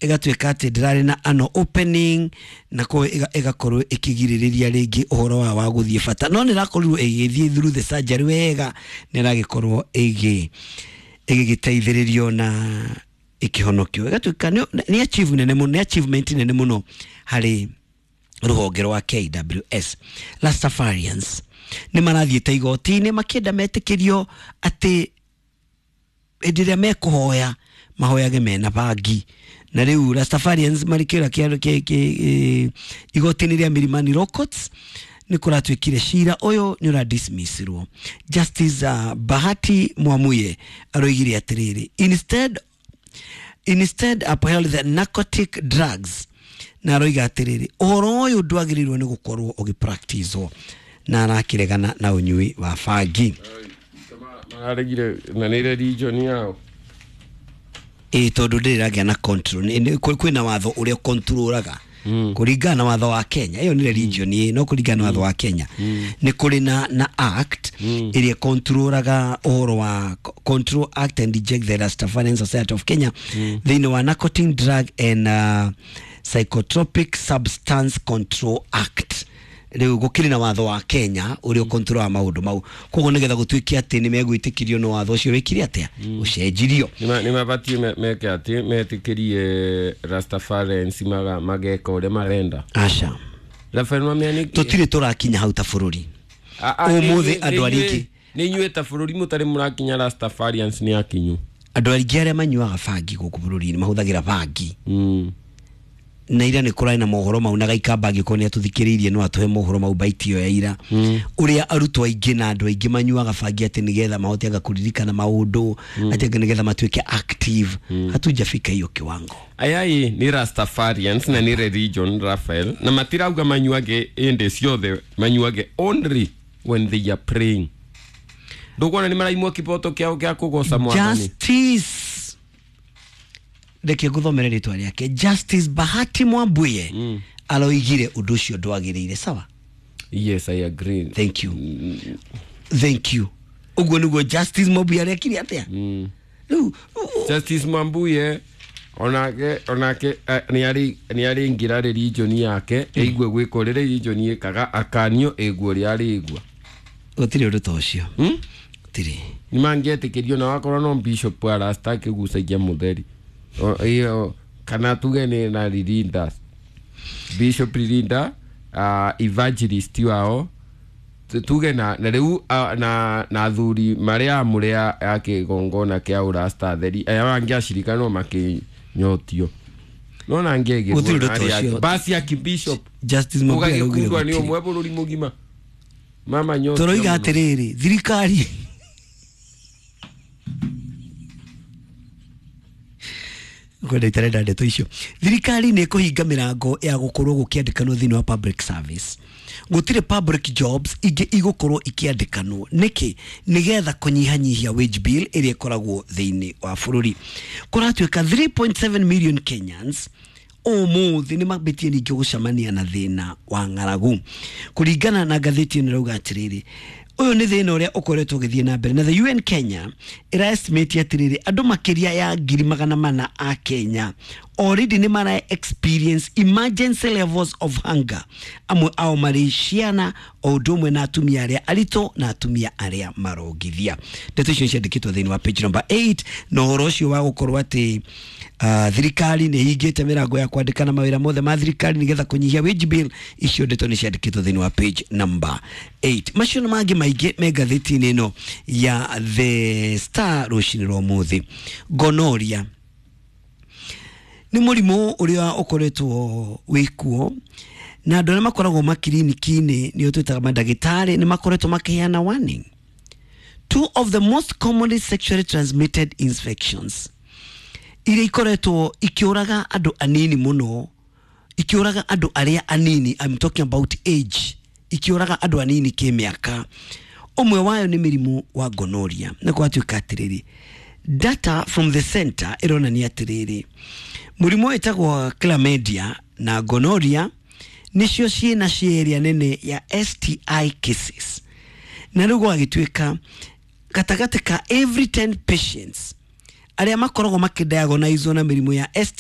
Ĩgatuĩka atĩ ndĩrarĩ na ano opening, na koguo ĩgakorwo ĩkĩgirĩrĩria rĩngĩ ũhoro wa gũthiĩ bata, no nĩ ĩrakorirwo ĩgĩthiĩ through the surgery wega, nĩ ĩragĩkorwo ĩgĩgĩteithĩrĩrio na ĩkĩhonokio. Ĩgatuĩka nĩ achieve nene mũno, nĩ achievement nene mũno harĩ rũhonge rwa KWS. Rastafarians nĩ marathiĩte igoti-inĩ makĩenda metĩkĩrio atĩ hĩndĩ ĩrĩa mekũhoya mahoyage mena bangi. Na rĩu Rastafarians marĩ kĩũra kĩa igoti-inĩ rĩa Milimani Law Courts, nĩ kũratuĩkire cira ũyũ nĩ ũradismissirwo. Justice Bahati Mwamuye aroigire atĩrĩrĩ, instead upheld the Narcotic Drugs, na aroiga atĩrĩrĩ, ũhoro ũyũ ndwagĩrĩirwo nĩ gũkorwo ũgĩpracticwo, na arakĩregana na ũnyui wa bangi. Mararegire na nĩ religion yao. Ĩ, tondũ ndĩrĩ ĩragĩa na control. Kwĩna watho ũrĩa controlaga kũringana na watho wa Kenya. Ĩyo nĩ religion ĩ, no kũringana na watho wa Kenya nĩ kũrĩ na act ĩrĩa controlaga ũhoro wa Control Act and Reject the Rastafarian Society of Kenya thĩinĩ wa Narcotic Drug and Psychotropic Substance Control Act. Rĩu gũkĩrĩ na watho wa Kenya ũrĩa ũkontrolaga maũndũ mau, koguo nĩgetha gũtuĩke atĩ nĩ megwĩtĩkĩrio nĩ watho ũcio wĩkire atĩa, ũcenjirio. Nĩ mabatiĩ meke atĩ metĩkĩrie Rastafarians mageka ũrĩa marenda. Aca. Rafael Mamia nĩ Tũtirĩ tũrakinya hau ta bũrũri. Ũmũthĩ andũ arĩa aingĩ Nĩ inyuĩ ta bũrũri mũtarĩ mũrakinya, Rastafarians nĩ akinyu. Andũ aingĩ arĩa manyuaga bangi gũkũ bũrũri-inĩ mahũthagĩra bangi na ira nĩ kũrarĩ na mohoro mau, na Gaikamba angĩkorwo nĩ atũthikĩrĩirie no atũhe mohoro mau baiti ĩyo ya ira, ũrĩa arutwo aingĩ na andũ aingĩ manyuaga bangi atĩ nĩgetha mahote anga kũririkana maũndũ, atĩ anga nĩgetha matuĩke active. Hatujafika hiyo kiwango. Aya ĩ nĩ Rastafarians na nĩ religion, Rafael, na matirauga manyuage ĩndĩ ciothe, manyuage only when they are praying. Ndũkuona nĩ maraimwo kĩboto kĩao kĩa kũgoca Mwathani? Justice, reke ngũthomere rĩtwa rĩake, Justice Bahati Mwambuye aroigire ũndũ ũcio ndwagĩrĩire, sawa? Yes, I agree. Thank you, thank you. Ũguo nĩguo Justice Mwambuye arekire atĩa rĩu. Justice Mambuye onake nĩ arĩingĩra religion yake, eigue gwĩka ũrĩa religion ĩkaga, akanio ĩguo ũrĩa arĩigua. Gũtirĩ ũndũ ta ũcio. Gũtirĩ. Nĩ mangĩetĩkĩrio na wakorwo no bishop wa Rasta akĩgucagia mũtheri. Ĩyo, kana tuge nĩ na Ririnda, Bishop Ririnda, evangelist wao, tuge na rĩu na athuri marĩa amũre ya kĩgongona kĩa ũrasta atheri aya mangĩ acirika no makĩnyotio no na ngegĩrwo. Gũtirĩ ũndũ ta ũcio. Basi ya kibishop Justice Mwambuye araugire ũgagĩkundwa nĩ gũtirĩ. ũmwe bũrũri mũgima mama nyotio Tũroiga mũno. atĩrĩrĩ, thirikari kwenda itarenda ndeto icio, thirikari nĩ ĩkũhinga mĩrango ya gũkorwo gũkĩandĩkanwo thĩinĩ wa public service. Gũtirĩ public jobs ingĩ igũkorwo ikĩandĩkanwo. Nĩkĩ? Nĩgetha kũnyihanyihia wage bill ĩrĩa ĩkoragwo thĩinĩ wa bũrũri. Kũratuĩka 3.7 million Kenyans ũmũthĩ nĩ mambĩtie ningĩ gũcemania na thĩna wa ng'aragu. Kũringana na ngathĩti ĩno ĩrauga atĩrĩrĩ, ũyũ nĩ thĩna ũrĩa ũkoretwo ũgĩthiĩ na mbere, na the UN Kenya ĩra estimate atĩrĩrĩ, andũ makĩria ya 400,000 a Kenya already nĩ mara experience emergency levels of hunger, amwe ao marĩ ciana o ũndũ ũmwe na atumia arĩa aritũ na atumia arĩa marongithia. Ndeto icio ciandĩkĩtwo thĩinĩ wa page number 8, na ũhoro ũcio wa gũkorwo atĩ thirikari nĩ hingĩte mĩrango ya kwandĩkana mawĩra mothe ma thirikari nĩgetha kũnyihia wage bill, icio ndeto nĩ ciandĩkĩtwo thĩinĩ wa page number 8. Macio na mangĩ maingĩ me ngathĩti-inĩ ĩno ya The Star rũcinĩ rwa ũmũthĩ. Gonorrhea nĩ mũrimũ ũrĩa ũkoretwo wĩkuo, na andũ arĩa makoragwo makiriniki-inĩ, nĩo twĩtaga mandagĩtarĩ, nĩ makoretwo makĩheana warning. Two of the most commonly sexually transmitted infections iria ikoretwo ikĩũraga andũ anini mũno, ikĩũraga andũ arĩa anini, I'm talking about age, ikĩũraga andũ anini kĩmĩaka, ũmwe wayo nĩ mĩrimũ wa gonorrhea. Na gwatuĩka atĩrĩrĩ, data from the center ĩronania atĩrĩrĩ, mũrimũ wĩtagwo chlamydia na gonorrhea nĩcio ciĩna share nene ya STI cases, na rĩu gwagĩtuĩka gatagatĩ ka every 10 patients arĩa makoragwo makĩdiagnosewo na mĩrimũ ya STI.